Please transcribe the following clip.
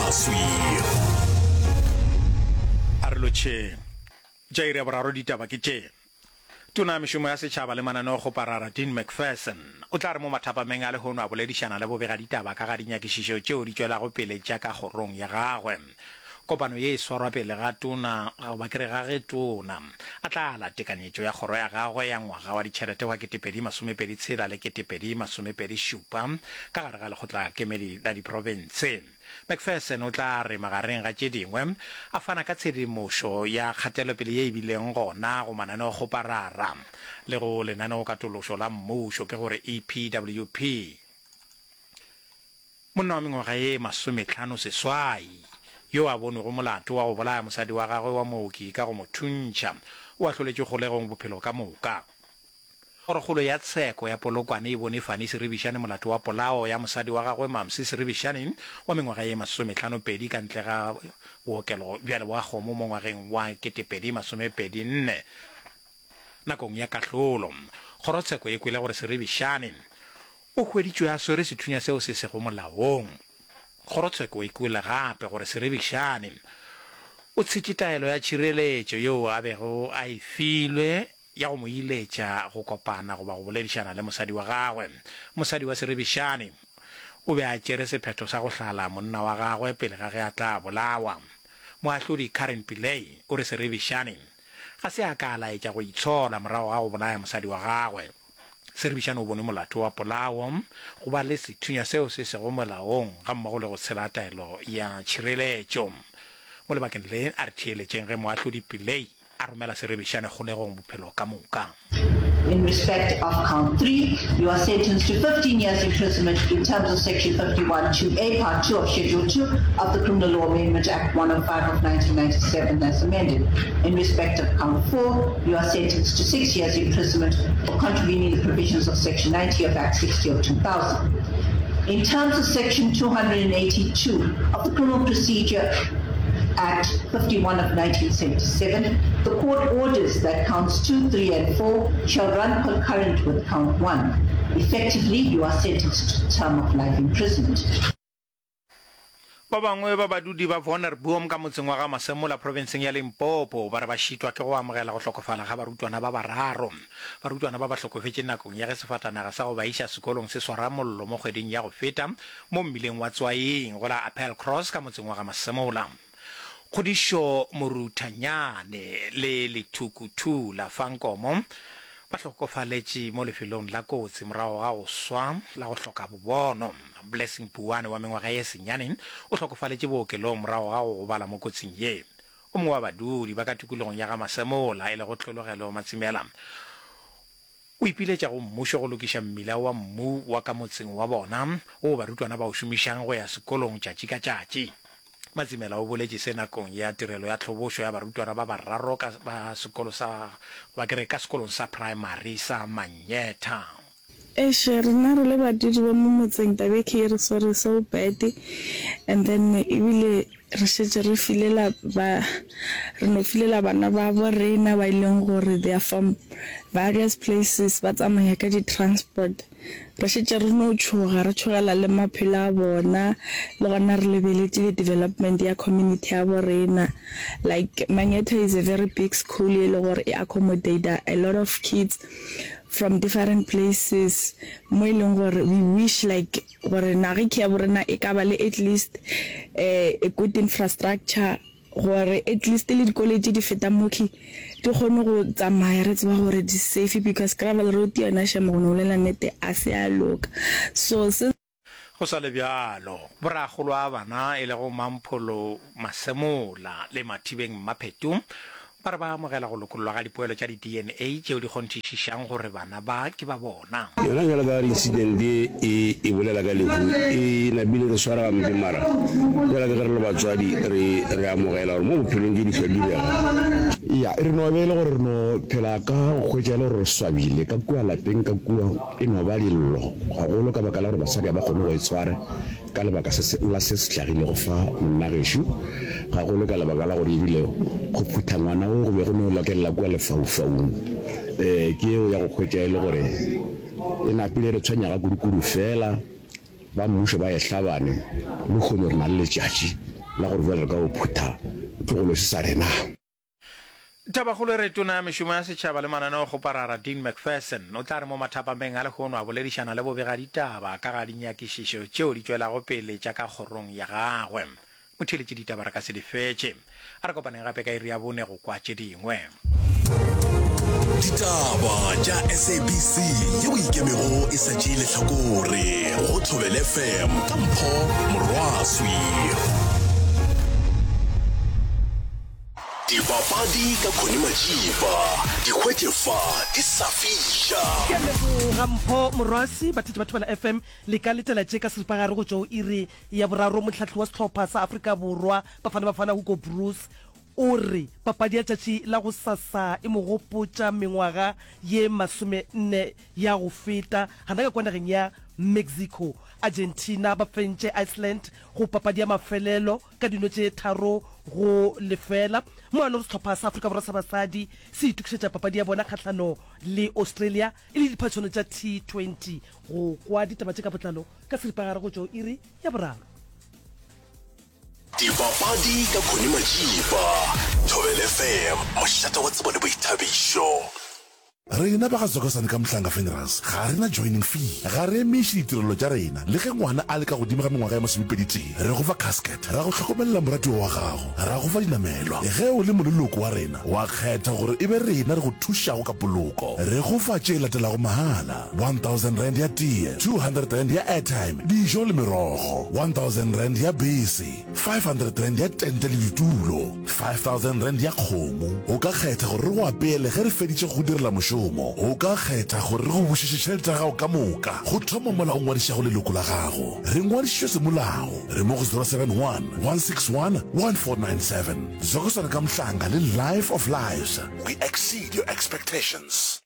Maswi. A re lotšheng. Tša iri ya boraro ditaba ke tše. Tona ya Mešomo ya Setšhaba le Mananeokgoparara Dean Macpherson o tla re mo mathapameng a lehono a boledišana le bobegaditaba ka ga dinyakišišo tšeo di tšwelago pele tša ka kgorong ya gagwe. Kopano ye e swarwa pele ga tona goba ke re ga ge tona a tla ala tekanyetšo ya kgoro ya gagwe ya ngwaga wa ditšhelete wa 2026 le 2027 ka gare ga Lekgotlakemedi la Diprofense. McPherson o tla re magareng ga tše dingwe a fana ka tshedimošo ya kgatelopele ye e bileng gona go mananeokgoparara le go lenaneokatološo la mmušo, ke gore EPWP. Monna wa mengwaga ye masometlhano seswai, yo a bonwego molato wa go bolaya mosadi wa gagwe wa mooki ka go mo thuntšha, o ahloletšwe kgolegong bophelo ka moka. Kgorokgolo ya Tsheko ya Polokwane e bone Fani Seribišane molato wa polao ya mosadi wa gagwe Mamsi Seribišane wa mengwaga ye masometlhanopedi ka ntle ga bookelo bja Leboakgomo mo ngwageng wa 2024. Nakong ya kahlolo, kgorotsheko e kwele gore Seribišane o hweditšwe a swere sethunya seo se sego molaong. Kgorotsheko e kwele gape gore Seribišane o tshetše taelo ya tšhireletšo yeo a bego a e filwe ya go mo iletša go kopana goba go boledišana le mosadi wa gagwe. Mosadi wa Seribišane o be a tšere sephetho sa go hlala monna wa gagwe pele ga ge a tla bolawa. Moahlodi Karen Pillay o re Seribišane ga se a ka a laetša go itshola morago ga go bolaya mosadi wa gagwe. Seribišane o bonwe molato wa polao, go ba le sethunya seo se sego molaong gammogo le go tshela taelo ya tšhireletšo. Mo lebakeng le, a re theeletšeng ge Moahlodi Pillay a romela Seribišane kgolegong bophelo ka moka. In respect of count 3, you are sentenced to 15 years imprisonment in terms of section 51 2A part 2 of schedule 2 of the Criminal Law Amendment Act 105 of 1997 as amended. In respect of count 4, you are sentenced to 6 years imprisonment for contravening the provisions of section 90 of Act 60 of 2000. In terms of section 282 of the Criminal Procedure Act 51 of 1977, the court orders that counts 2, 3 and 4 shall run concurrent with count 1. Effectively, you are sentenced to term of life imprisonment. Ba bangwe ba badudi ba Wonderboom ka motseng wa ga Masemola profenseng ya Limpopo ba re ba šitwa ke go amogela go hlokofala ga barutwana ba bararo. Barutwana ba ba hlokofetše nakong ya ge sefatanaga sa go ba iša sekolong se swara mollo mo kgweding ya go feta mo mmileng wa Tswaing go la Appelcross ka motseng wa ga Masemola. Kgodišo Moruthanyane le Lethukuthula Fankomo ba hlokofaletše mo lefelong la kotsi morago ga go swa la go hloka bobono. Blessing Puane wa mengwaga ye senyane o hlokofaletše bookelong morago ga go gobala mo kotsing ye. O mongwe wa badudi ba ka tikologong ya ga Masemola e lego Tlhologelo Matsimela O ipiletša go mmušo go lokiša mmila wa mmu wa ka motseng wa bona woo barutwana ba o šomišang go ya sekolong tšatši ka tšatši. Matsimela o boletše se nakong ya tirelo ya tlhobošo ya barutwana ba bararo ka ba sekolo sa goba ke re ka sekolong sa praemari sa Manyetha. Eish rena re le badudi ba mo motseng taba e ke e re swere so bad and then ebile Re šetše re filela ba, re no filela bana babo rena ba e leng gore they are from various places, ba tsamaya ka di-transport. Re šetše re no tšhoga, re tšhogela le maphelo a bona, le gona re lebeletše le development ya community ya bo rena. Like Manyetha is a very big school e le gore e accommodate a lot of kids from different places, mo e leng gore we wish like Gore naga ke ya borena e ka ba le at least a good infrastructure gore at least le dikoloi tše di fetang mo di kgone go tsamaya re tseba gore di safe because gravel road yona shame go no bolela nnete a se ya loka so se Go sa le bjalo, borakgolo a bana e lego Mampholo Masemola le Mathibeng Mmaphetu Ba re ba amogela go lokollwa ga dipoelo tša di-DNA tšeo di kgonthišišang gore bana ba ke ba bona. Yona bjalo ka gore incident ye e e bolela ka lehu e napile re swara gampe mara bjalo ka ge re le batswadi re re amogela gore mo bophelong tše di hlwa di direga. Ya, re no be e le gore re no phela ka go hwetša e le gore re swabile ka kua lapeng ka kua e no ba dillo gagolo ka baka la gore basadi ga ba kgone go itshwara. Ka lebaka se se, la se se hlagilego fa, monna gešo, gagolo ka lebaka la gore ebile go phutha ngwana wo go be go no lokelela kua lefaufaung. Ee, ke yeo ya go hwetša e le gore e napile re tshwenyaga kudu-kudu. Feela ba mmušo ba e hlabane, lehono re na le letšatši. la gore bjale re ka o phutha tlogolo se sa rena. Tabakgolo e re Tona ya Mešomo ya Setšhaba le Mananeokgoparara Dean Macpherson o tla re mo mathapameng a lehono a boledišana le bobegaditaba ka ga dinyakišišo tšeo di tšwelago pele tša ka kgorong ya gagwe. Motheeletši ditaba re ka se di fetše. A re kopaneng gape ka iri ya bone go kwa tše dingwe. Ditaba tša SABC yeo e ikemego e sa tšee lehlakore go Thobela FM ka Mpho Morwaswi. Dipapadi ka Connie Majiba, di hwetše fa di sa fiša. Ke a leboga Mpho Morwasi. Batheetši ba Thobela FM le ka letela tše ka seripagare go tšwa go iri ya boraro. Mohlahli wa sehlopha sa Afrika Borwa Bafana Bafana Hugo Broos o re papadi ya tšatši la gosasa e mo gopotša mengwaga ye masomenne ya go feta gana ka kwa nageng ya Mexico. Argentina ba fentše Iceland go papadi ya mafelelo ka dino tše 3-0. Mo a lego sehlopha sa Afrika Borwa sa basadi se itokišetša papadi ya bona kgahlano le Australia e le diphatšhono tša T20. Go kwa ditaba tše ka botlalo ka seripagare go tšwa go iri ya boraro. Dipapadi ka Connie Majiba, Thobela FM, mošate wa tsebo le boithabišo. Rena ba ga Zokosane ka Mhlanga Funerals ga re na joining fee, ga re emiše ditirelo tša rena le ge ngwana a le ka godimo ga mengwaga ya masomepedi-tee. Re go fa casket, ra go hlokomelela moratiwa wa gago, ra go fa dinamelwa. Ge o le moleloko wa rena, wa kgetha gore e be rena re go thušago ka poloko. Re go fa tše latelago mahala, R1000 ya tee, R200 ya airtime, dijo le merogo, R1000 ya bese, R500 ya tente le ditulo, R5000 ya kgomo. O ka kgetha gore re go apeele ge re feditše go go direla mošomo. O ka kgetha gore re go bušetše tšhelete ya gago ka moka go thoma mola o ngwadišago leloko la gago. Re ngwadišitšwe semolao. Re mo go 071 161 1497. Zokosana ka Mhlanga le Life of Lives. We exceed your expectations.